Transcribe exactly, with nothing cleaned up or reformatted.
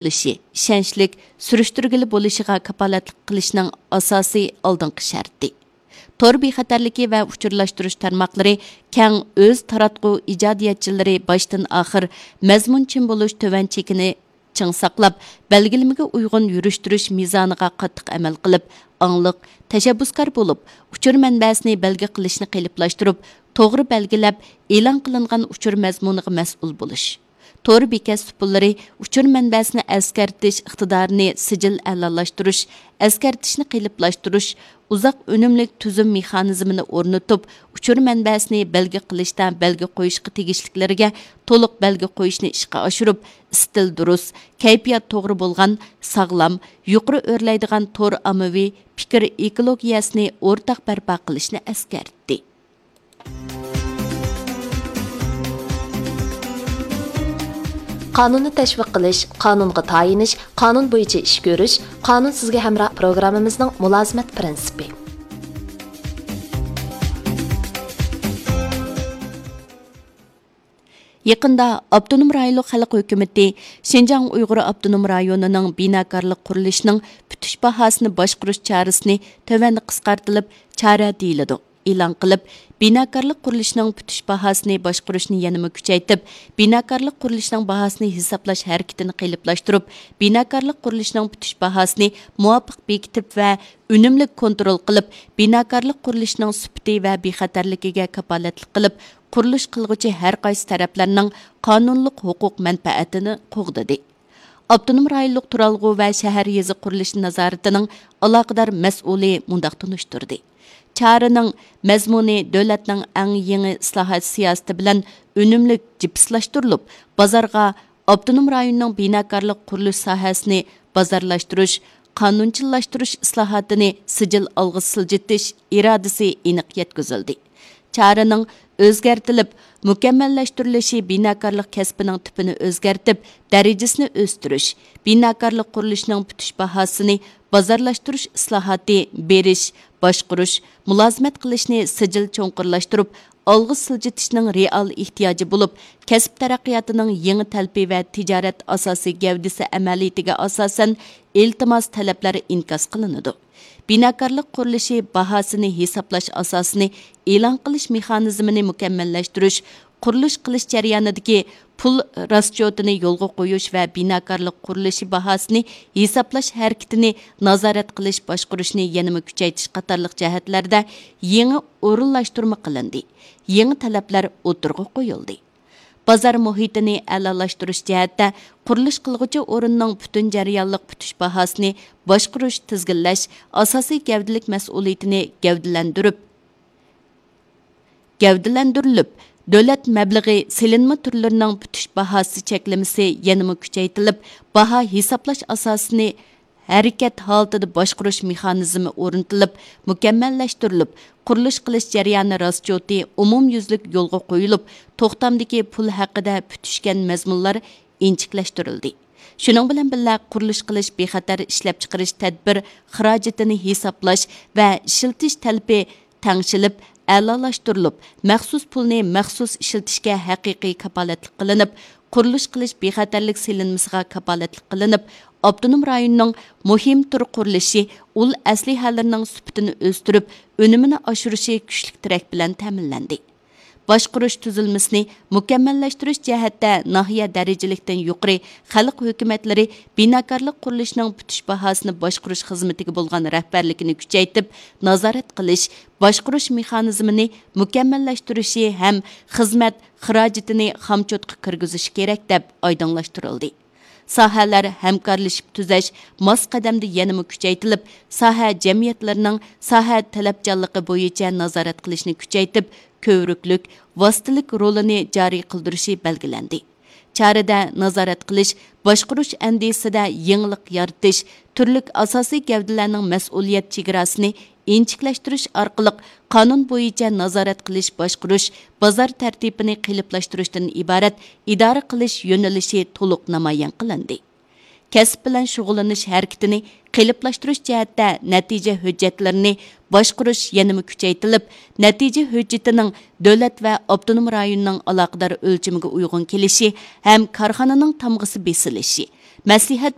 بولۇشى، ئىشەنچلىك، سۈرۈشتۈرگىلى بولۇشىغا كاپالەتلىك قىلىشنىڭ ئاساسىي ئالدىنقى شەرتى. تور بىخەتەرلىكى ۋە ئۇچۇرلاشتۇرۇش تارماقلىرى كەڭ ئۆز تاراتقۇ ئىجادىيەتچىلىرى باشتىن ئاخىر مەزمۇنچىن بولۇش تۆۋەن چېكىنى چىڭ ساقلاپ، بەلگىلىمىگە ئۇيغۇن يۈرۈشتۈرۈش مىزانىغا قاتتىق ئەمەل قىلىپ، ئاڭلىق، تەشەببۇسكار بولۇپ، ئۇچۇر مەنبەسىنى بەلگە قىلىشنى قېلىپلاشتۇرۇپ، توغرا بەلگىلەپ، ئېلان قىلىنغان ئۇچۇر مەزمۇنىغا مەسئۇل بولۇش. تور بېكەت سۇپىلىرى ئۇچۇر مەنبەسىنى ئەسكەرتىش ئىقتىدارىنى سىجىل ئەلالاشتۇرۇش، ئەسكەرتىشنى قېلىپلاشتۇرۇش، ئۇزاق ئۈنۈملۈك تۈزۈم مېخانىزمىنى ئورنىتىپ، ئۇچۇر مەنبەسىنى بەلگە قىلىشتا بەلگە قويۇشقا تېگىشلىكلىرىگە تولۇق بەلگە قويۇشنى ئىشقا ئاشۇرۇپ، ئىستىل دۇرۇس، كەيپىيات توغرا بولغان، ساغلام، يۇقىرى ئۆرلەيدىغان تور ئاممىۋى پىكىر ئېكولوگىيەسىنى ئورتاق بەرپا قىلىشنى ئەسكەرتتى. قانۇننى تەشۋىق قىلىش، قانۇنغا تايىنىش، قانۇن بويىچە ئىش كۆرۈش، قانۇن سىزگە ھەمراھ پروگراممىمىزنىڭ مۇلازىمەت پىرىنسىپى. يېقىندا ئاپتونوم رايونلۇق خەلق ھۆكۈمىتى شىنجاڭ ئۇيغۇر ئاپتونوم رايونىنىڭ بىناكارلىق قۇرۇلۇشىنىڭ پۈتۈش باھاسىنى باشقۇرۇش چارىسىنى تۆۋەندە قىسقارتىلىپ چارە دېيىلىدۇ، ئېلان قىلىپ، بىناكارلىق قۇرۇلۇشىنىڭ پۈتۈش باھاسىنى باشقۇرۇشنى يەنىمۇ كۈچەيتىپ، بىناكارلىق قۇرۇلۇشىنىڭ باھاسىنى ھېسابلاش ھەرىكىتىنى قېلىپلاشتۇرۇپ، بىناكارلىق قۇرۇلۇشىنىڭ پۈتۈش باھاسىنى مۇۋاپىق بېكىتىپ ۋە ئۈنۈملۈك كونترول قىلىپ، بىناكارلىق قۇرۇلۇشىنىڭ سۈپىتى ۋە بىخەتەرلىكىگە كاپالەتلىك قىلىپ، قۇرۇلۇش قىلغۇچى ھەر قايسى تەرەپلەرنىڭ قانۇنلۇق ھوقۇق مەنپەئەتىنى قوغدىدى. ئاپتونوم رايونلۇق تۇرالغۇ ۋە شەھەر يېزا قۇرۇلۇشى نازارىتىنىڭ ئالاقىدار مەسئۇلى مۇنداق تونۇشتۇردى: چارىنىڭ مەزمۇنى دۆلەتنىڭ ئەڭ يېڭى ئىسلاھات سىياسىتى بىلەن ئۈنۈملۈك جىپسلاشتۇرۇلۇپ، بازارغا ئاپتونوم رايوننىڭ بىناكارلىق قۇرۇلۇش ساھەسىنى بازارلاشتۇرۇش، قانۇنچىللاشتۇرۇش ئىسلاھاتىنى سىجىل ئالغا سىلجىتىش ئىرادىسى ئېنىق يەتكۈزۈلدى. چارىنىڭ ئۆزگەرتىلىپ مۇكەممەللەشتۈرۈلۈشى بىناكارلىق كەسپىنىڭ تىپىنى ئۆزگەرتىپ، دەرىجىسىنى ئۆستۈرۈش، بىناكارلىق قۇرۇلۇشىنىڭ پۈتۈش باھاسىنى بازارلاشتۇرۇش ئىسلاھاتى بېرىش، باشقۇرۇش، مۇلازىمەت قىلىشنى سىجىل چوڭقۇرلاشتۇرۇپ، ئالغا سىلجىتىشنىڭ رېئال ئېھتىياجى بولۇپ، كەسىپ تەرەققىياتىنىڭ يېڭى تەلىپى ۋە تىجارەت ئاساسىي گەۋدىسى ئەمەلىيىتىگە ئاساسەن ئىلتىماس، تەلەپلەر ئىنكاس قىلىنىدۇ. بىناكارلىق قۇرۇلۇشى باھاسىنى ھېسابلاش ئاساسىنى ئېلان قىلىش مېخانىزمىنى مۇكەممەللەشتۈرۈش، قۇرۇلۇش قىلىش جەريانىدىكى پۇل راسچوتىنى يولغا قويۇش ۋە بىناكارلىق قۇرۇلۇشى باھاسىنى ھېسابلاش ھەرىكىتىنى نازارەت قىلىش، باشقۇرۇشنى يەنىمۇ كۈچەيتىش قاتارلىق جەھەتلەردە يېڭى ئورۇنلاشتۇرما قىلىندى، يېڭى تەلەپلەر ئوتتۇرىغا قويۇلدى. بازار مۇھىتىنى ئەلالاشتۇرۇش جەھەتتە قۇرۇلۇش قىلغۇچى ئورۇننىڭ پۈتۈن جەريانلىق پۈتۈش باھاسىنى باشقۇرۇش، تىزگىنلەش ئاساسىي گەۋدىلىك مەسئۇلىيىتىنى گەۋدىلەندۈرۈپ، گەۋدىلەندۈرۈلۈپ، دۆلەت مەبلىغى سېلىنما تۈرلىرىنىڭ پۈتۈش باھاسى چەكلىمىسى يەنىمۇ كۈچەيتىلىپ، باھا ھېسابلاش ئاساسىنى ھەرىكەت ھالىتىدە باشقۇرۇش مېخانىزمى ئورنىتىلىپ، مۇكەممەللەشتۈرۈلۈپ، قۇرۇلۇش قىلىش جەريانى راسچوتى ئومۇميۈزلۈك يولغا قويۇلۇپ، توختامدىكى پۇل ھەققىدە پۈتۈشكەن مەزمۇنلار ئىنچىكىلەشتۈرۈلدى. شۇنىڭ بىلەن بىللە، قۇرۇلۇش قىلىش بىخەتەر ئىشلەپچىقىرىش تەدبىر خىراجىتىنى ھېسابلاش ۋە ئىشلىتىش تەلىپى تەڭشىلىپ، ئەلالاشتۇرۇلۇپ، مەخسۇس پۇلنى مەخسۇس ئىشلىتىشكە ھەقىقىي كاپالەتلىك قىلىنىپ، قۇرۇلۇش قىلىش بىخەتەرلىك سېلىنمىسىغا كاپالەتلىك قىلىنىپ، ئاپتونوم رايوننىڭ مۇھىم تۈر قۇرۇلۇشى ئۇل ئەسلىھەلىرىنىڭ سۈپىتىنى ئۆستۈرۈپ، ئۈنۈمىنى ئاشۇرۇشى كۈچلۈك تىرەك بىلەن تەمىنلەندى. باشقۇرۇش تۈزۈلمىسىنى مۇكەممەللەشتۈرۈش جەھەتتە ناھىيە دەرىجىلىكتىن يۇقىرى خەلق ھۆكۈمەتلىرى بىناكارلىق قۇرۇلۇشىنىڭ پۈتۈش باھاسىنى باشقۇرۇش خىزمىتىگە بولغان رەھبەرلىكىنى كۈچەيتىپ، نازارەت قىلىش، باشقۇرۇش مېخانىزمىنى مۇكەممەللەشتۈرۈشى ھەم خىزمەت خىراجىتىنى خامچوتقا كىرگۈزۈشى كېرەك، دەپ ئايدىڭلاشتۇرۇلدى. ساھەلەر ھەمكارلىشىپ تۈزەش ماس قەدەمدە يەنىمۇ كۈچەيتىلىپ، ساھە جەمئىيەتلىرىنىڭ ساھە تەلەپچانلىقى بويىچە نازارەت قىلىشنى كۈچەيتىپ، كۆۋرۈكلۈك، ۋاسىتىلىك رولىنى جارى قىلدۇرۇشى بەلگىلەندى. چارىدە نازارەت قىلىش، باشقۇرۇش ئەندىزىسىدە يېڭىلىق يارىتىش، تۈرلۈك ئاساسىي گەۋدىلەرنىڭ مەسئۇلىيەت چېگراسىنى ئىنچىكىلەشتۈرۈش ئارقىلىق قانۇن بويىچە نازارەت قىلىش، باشقۇرۇش، بازار تەرتىپىنى قېلىپلاشتۇرۇشتىن ئىبارەت ئىدارە قىلىش يۆنىلىشى تولۇق نامايان قىلىندى. كەسىپ بىلەن شۇغۇللىنىش ھەرىكىتىنى قېلىپلاشتۇرۇش جەھەتتە نەتىجە ھۆججەتلىرىنى باشقۇرۇش يەنىمۇ كۈچەيتىلىپ، نەتىجە ھۆججىتىنىڭ دۆلەت ۋە ئاپتونوم رايوننىڭ ئالاقىدار ئۆلچىمىگە ئۇيغۇن كېلىشى ھەم كارخانىنىڭ تامغىسى بېسىلىشى، مەسلىھەت